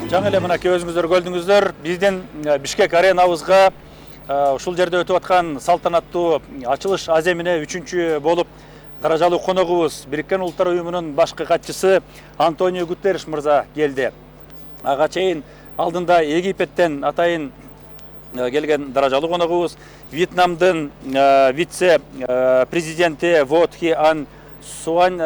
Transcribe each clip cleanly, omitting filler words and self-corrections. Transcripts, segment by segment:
Жаңы эле мынакей өзүңүздөр көрдүңүздөр, биздин Бишкек аренабызга ушул жерде өтүп аткан салтанаттуу ачылыш аземине 3-чү болуп даражалуу коногубуз Бириккен Улуттар Уюмунун башкы катчысы Антонио Гутерриш мырза келди. Ага чейин алдында Египеттен атайын келген даражалуу коногубуз Вьетнамдын вице-президенти Во Thi An Суан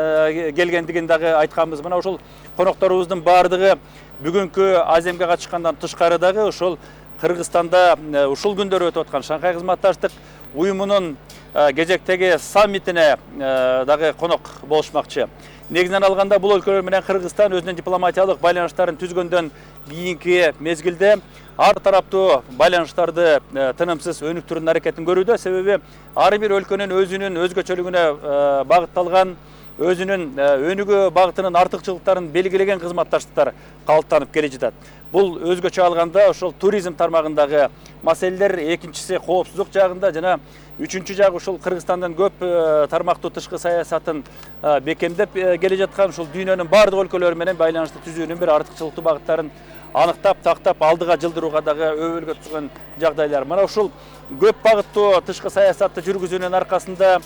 келгендигин дагы айтканбыз. Мына ушул конокторубуздун баардыгы бүгүнкү аземге катышкандан тышкары дагы ушул Кыргызстанда ушул күндөрү өтүп аткан Шанхай кызматташтык уюмунун кезектеги саммитине дагы конок болушмакчы. Негизинен алганда бул өлкөлөр менен Кыргызстан өзүнүн дипломатиялык байланыштарын түзгөндөн кийинки мезгилде ар тараптуу байланыштарды тынымсыз өнүктүрүүнүн аракетин көрүүдө. Себеби ар бир өлкөнүн өзүнүн өзгөчөлүгүнө багытталган, өзүнүн өнүгүү багытынын артыкчылыктарын белгилеген кызматташтыктар калыптанып келе жатат. Бул өзгөчө алганда ошол туризм тармагындагы маселелер, экинчиси коопсуздук жагында жана үчүнчү жагы ушул Кыргызстандын көп тармактуу тышкы саясатын бекемдеп келе жаткан ушул дүйнөнүн бардык өлкөлөрү менен байланышты түзүүнүн бир артыкчылыктуу багыттарын аныктап, тактап, алдыга жылдырууга дагы өбөлгө түзгөн жагдайлар. Мына ушул көп багыттуу тышкы саясатты жүргүзүүнүн аркасында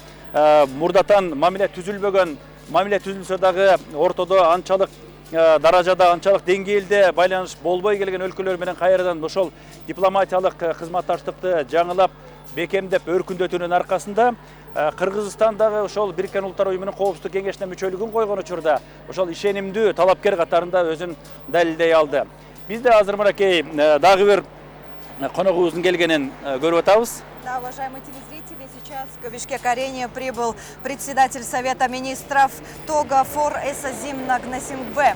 мурдатан мамиле түзүлбөгөн, мамиле түзүлсө дагы ортодо анчалык даражада, анчалык деңгээлде байланыш болбой келген өлкөлөр менен кайрадан ошол дипломатиялык кызматташтыкты жаңылап, бекемдеп, өркүндөтүүнүн аркасында Кыргызстан дагы ошол Бириккен Улуттар Уюмунун коопсуздук кеңешине мүчөлүгүн койгон учурда ошол ишенимдүү талапкер катарында өзүн далилдей алды. Биз да азыр мынакей дагы бир коногубуздун келгенин көрүп атабыз. Да, уважаемые телезрители, сейчас к Бишкек-арене прибыл председатель Совета министров Тога Фор Эсазим Нагнасингбе.